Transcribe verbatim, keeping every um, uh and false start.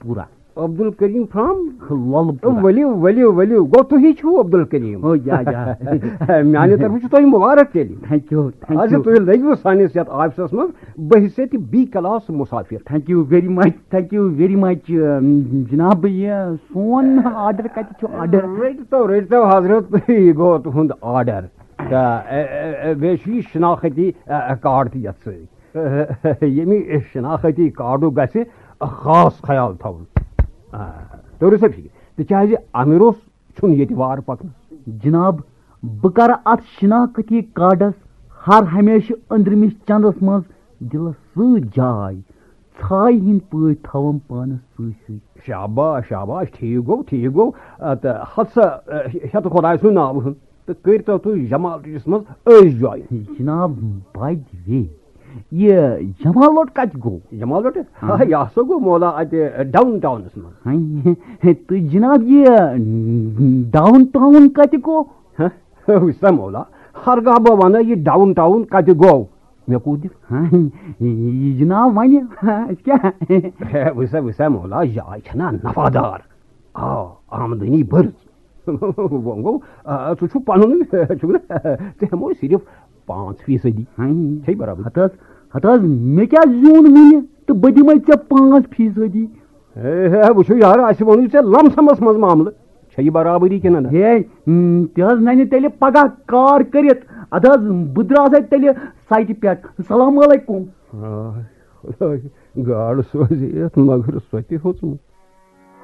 پورہ۔ عبدالکریم فرام؟ لۄلہٕ پورہ۔ ؤلِو، ؤلِو، ؤلِو۔ گوٚو تُہی چھِو عبدالکریم؟ او، یا، یا۔ میٛانہِ طرفہٕ چھُ تۄہہِ مُبارک تیٚلہِ۔ Thank you, thank you۔ اچھا، تُہۍ لٔگِوٕ سٲنِس یَتھ آفسَس منٛز بحیثیت بی کلاس مُسافِر۔ Thank you very much, thank you very much۔ جناب، یہِ سون آرڈر کَتہِ چھُ آرڈر؟ رٔٹۍ تو، رٔٹۍ تو حضرت، یہِ گوٚو تُہُنٛد آرڈر۔ تہٕ، اے، اے، اے، بیٚیہِ چھُ یہِ شناختی، اے، اے، کارڈ تہِ یَتھ سۭتۍ۔ ییٚمہِ شناختی کارڈُک گژھِ خاص خیال تھاوُن۔ آ، توٚرُ سا فِکرِ؟ تِکیٛازِ اَمِروس چھُنہٕ ییٚتہِ وار پَکنَس۔ جناب، بہٕ کَرٕ اَتھ شناختی کارڈَس ہر ہمیشہٕ أنٛدرِمِس چَندَس منٛز دِلَس سۭتۍ جاے۔ ژھایہِ ہِنٛدۍ پٲٹھۍ تھاوَم پانَس سۭتۍ سۭتۍ۔ شاباش، شاباش، ٹھیٖک گوٚو، ٹھیٖک گوٚو۔ آ، تہٕ ہَتھ سا، آ، ہیٚتھ خۄداے سُنٛد ناوٕ ہُنٛد۔ تہٕ کٔرۍ تو تُہۍ جمال ٹُٹِس منٛز أزۍ join۔ جناب، by the way، یہِ جمال لوٚٹ کَتہِ گوٚو؟ جمال لوٚٹ؟ ہاں۔ ہا، یہِ ہسا گوٚو مولا اَتہِ ڈاوُن ٹاونَس منٛز۔ ہاں، تہٕ جناب، یہِ ڈاوُن ٹاوُن کَتہِ گوٚو؟ ہاں، وٕچھ سا مولا، ہرگاہ بہٕ وَنہٕ یہِ ڈاوُن ٹاوُن کَتہِ گوٚو، مےٚ کوٗت دِکھ؟ ہاں، یہِ جناب وَنہِ، أسۍ کیٛاہ؟ ہے، وٕچھ سا، وٕچھ سا مولا، جاے چھَنا نفادار؟ آ، آمدنی بٔرٕژ۔ وۄنۍ گوٚو، آ، ژٕ چھُکھ پَنُن، چھُکھ نہ؟ ژےٚ ہٮ۪مو صرف پانٛژھ فیٖصدی۔ ہاں۔ چھے برابر؟ ہتہٕ حظ، ہتہٕ حظ، مےٚ کیٛاہ زیوٗن وُنہِ تہٕ بہٕ دِمے ژےٚ پانٛژھ فیٖصدی۔ ہے، ہے، وٕچھِو یارٕ، اَسہِ ووٚنُے ژےٚ لم سمس منٛز معاملہٕ۔ چھےٚ یہِ برابری کِنہٕ نہ؟ ہے، ہم، تہِ حظ نَنہِ تیٚلہِ پگاہ کار کٔرِتھ۔ اَدٕ حظ، بہٕ درٛاس اَتہِ تیٚلہِ سایٹہِ پٮ۪ٹھ۔ السلام علیکم۔ آے، خداے، گاڈٕ سوزِ یَتھ مگر سۄ تہِ ہیوٚژمٕژ۔